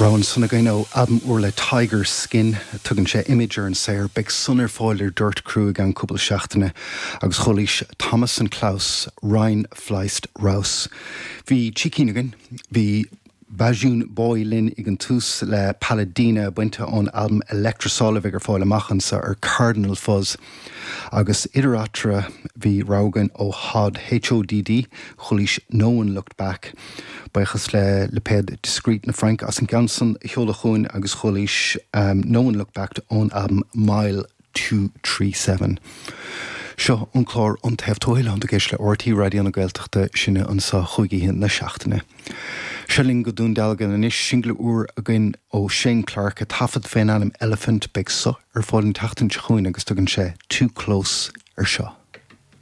Rogha ansan againn ó albam úr le Tiger Skin. Tugann sé Image ar an saothar. Beidh san ar fáil ar Dirt Crew i gceann cúpla seachtaine. Agus chualaís Thomas and Klaus, Rein Fleißt Raus. Bhí trí cinn againn. Bhí Bajun Boy linn ag an tús le Paladina bainte ón albam Electrosol a bheidh ar fáil amach anso ar Cardinal Fuzz. Agus idir eatarthu bhí rogha againn ó Hodd, HODD, chualaís No One Looked Back. Buíochas le lipéad Discreet na Fraince as an gceann san a sheoladh chugainn agus chualaís No One Looked Back ón albam Mile 237. Seo an clár An Taobh Tuathail, tánn tú ag éisteacht le RTÉ Raidió na Gaeltachta, sinne anso chúig oíche na seachtaine. Seo linn go Dún Dealgan anois, singil úr againn ó Shane Clarke, a taifead fén ainm Elephant. Beidh so ar fáil an tseachtain seo chugainn agus tugann sé Too Close ar seo.